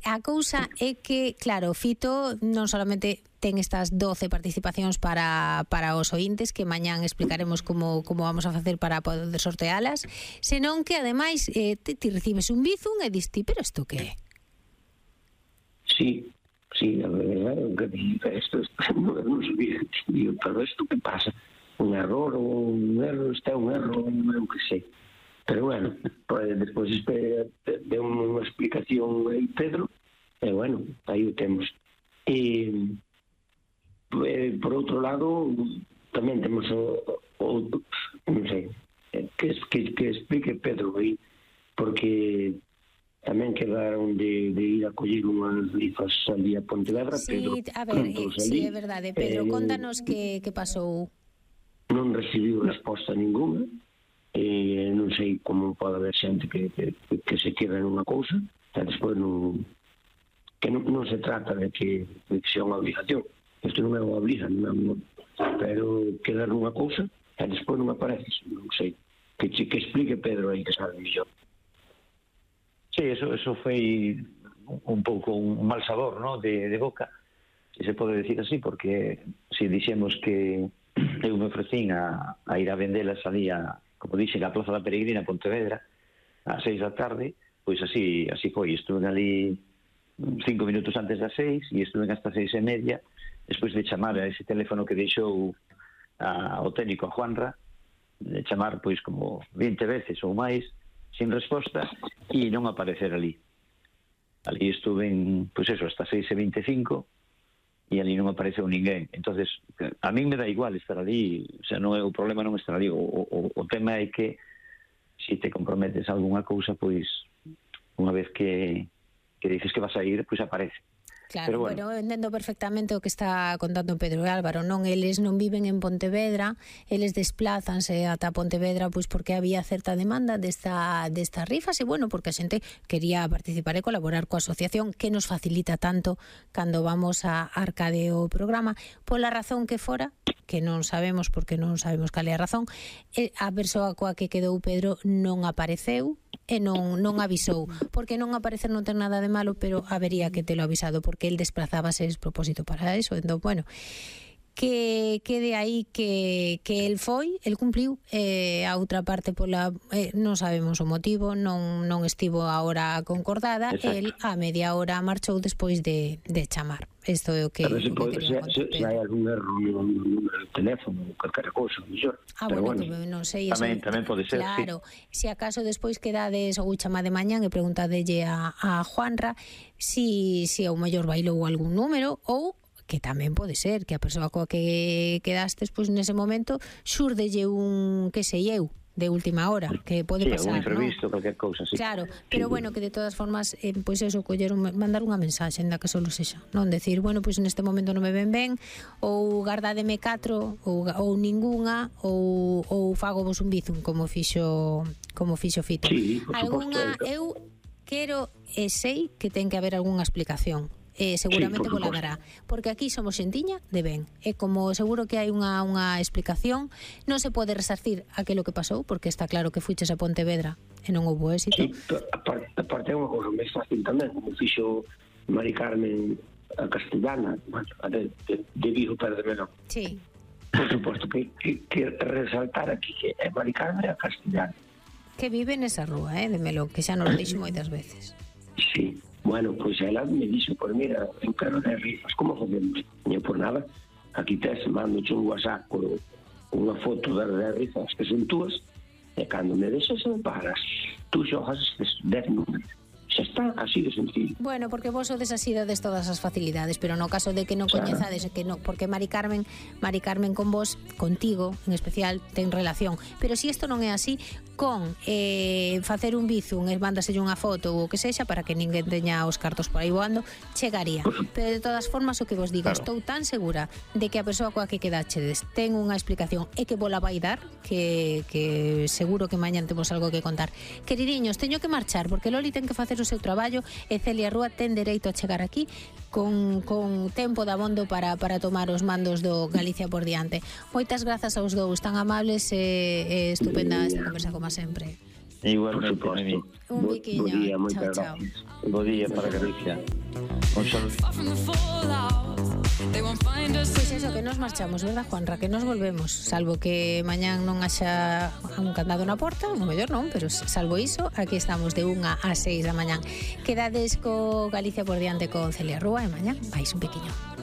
A cousa é que, claro, Fito non solamente ten estas 12 participacións para os ointes, que mañán explicaremos como vamos a facer para poder sortealas, senón que, ademais, ti recibes un bizum e dis ti, pero isto que é? Sí, a verdade, que isto non sabía, pero isto que pasa? Un error, este é un error, non que sei. Pero bueno, despois de unha explicación aí Pedro, e bueno, aí o temos. E por outro lado, tamén temos non sei, que explique Pedro aí, porque tamén quedaron de ir a coller unhas rifas ali a Pontevedra. Sí, Pedro, a ver, sí, é verdade. Pedro, contanos que pasou. Non recibiu resposta ninguna. Non sei como pode haber xente que se queda nunha cousa e despois non se trata de que sea unha obligación. Isto non é unha obligación, pero quedar nunha cousa e despois non apareces. Non sei, que explique Pedro aí, que sabe mellor. Sí, eso foi un pouco un mal sabor, ¿no?, de boca, se pode decir así, porque se dixemos que eu me ofrecín a ir a vendelas ali como dixen, a Plaza da Peregrina, Pontevedra, ás 6 da tarde, pois así foi. Estuve ali 5 minutos antes das 6 e estuve hasta 6:30, despois de chamar a ese teléfono que deixou o técnico, a Juanra, de chamar pois como 20 veces ou máis, sin resposta, e non aparecer ali. Ali estuve pois eso, hasta 6:25, e ali non apareceu ninguén. Entonces, a mí me dá igual estar ali, o sea, non é o problema non estar ali, o tema é que se te comprometes a algunha cousa, pois unha vez que dices que vas a ir, pois aparece. Claro, bueno, entendo perfectamente o que está contando Pedro e Álvaro, non? Eles non viven en Pontevedra, eles desplázanse ata Pontevedra pois porque había certa demanda destas rifas e, bueno, porque a xente quería participar e colaborar coa asociación que nos facilita tanto cando vamos a Arcade o programa. Pola razón que fora, que non sabemos porque non sabemos cal é a razón, a persoa coa que quedou Pedro non apareceu e non avisou, porque non aparecer non ten nada de malo, pero habería que telo avisado, porque el desplazábase propósito para eso. Entón, bueno, que de aí que el cumpliu, a outra parte non sabemos o motivo, non estivo a hora concordada. Exacto. El a media hora marchou despois de chamar. Isto é o que se hai algún erro no número de teléfono ou calquera cousa, mellor. Bueno, non sei, tamén pode ser. Claro, sí. Se acaso despois quedades ou chamade mañán e preguntadelle a Juanra si ao mellor bailou algún número, ou que tamén pode ser que a persoa coa que quedastes pois nese momento xurdelle un, que sei eu, de última hora, que pode pasar, un imprevisto, calquer cousa, sí. Claro, pero bueno, que de todas formas, pois eso, mandar unha mensaxe, ainda que solo sexa, non decir, bueno, pois neste momento non me ven ben, ou gardádeme 4, ou ningunha, ou fago vos un bizum, como fixo Fito. Sí, algunha, eu quero e sei que ten que haber algunha explicación. Seguramente vos la dará, porque aquí somos xentiña de ben, e como seguro que hai unha explicación, non se pode resarcir aquilo que pasou, porque está claro que fuiches a Pontevedra e non houbo éxito. Sí, aparte é unha cousa máis fácil tamén, como fixo Mari Carmen a Castellana, de Vigo para de Melón. Sí. Por suposto que resaltar aquí que é Mari Carmen a Castellana, que vive nesa rúa, de Melón, que xa nos lo dixo moitas veces. Sí. Bueno, pois ela me dixo, pois mira, eu quero de rifas, como facemos? Non por nada, aquí tes, mando un WhatsApp con unha foto das rifas que son túas, e cando me deixas en pagas, tú xogas estes 10 números. Xa está, así de sencillo. Bueno, porque vos sodes así dades todas as facilidades, pero no caso de que non coñezades, que non, porque Mari Carmen con vos, contigo en especial, ten relación. Pero se isto non é así, con facer un bizum e mándaselle unha foto ou o que sexa para que ninguén teña os cartos por aí voando, chegaría. Pero de todas formas, o que vos diga, estou tan segura de que a persoa coa que quedachedes ten unha explicación e que vola vai dar, que seguro que mañan temos algo que contar. Queridiños, teño que marchar porque Loli ten que facer o seu traballo e Celia Rúa ten dereito a chegar aquí con tempo de abondo para tomar os mandos do Galicia por diante. Moitas grazas aos dous, tan amables e estupenda esta conversa como sempre. Igualmente, Por Noemí. suposto. Un biquiño. Bo día, Chao, moitas chao. gracias. Bo día para Galicia. Un saludo. Pois eso, que nos marchamos, verdad, Juanra? Que nos volvemos, salvo que mañán non haxa un candado na porta, o mellor non, pero salvo iso, aquí estamos de 1 a 6 da mañán. Quedades co Galicia por diante con Celia Rúa e mañán vais un pequeño.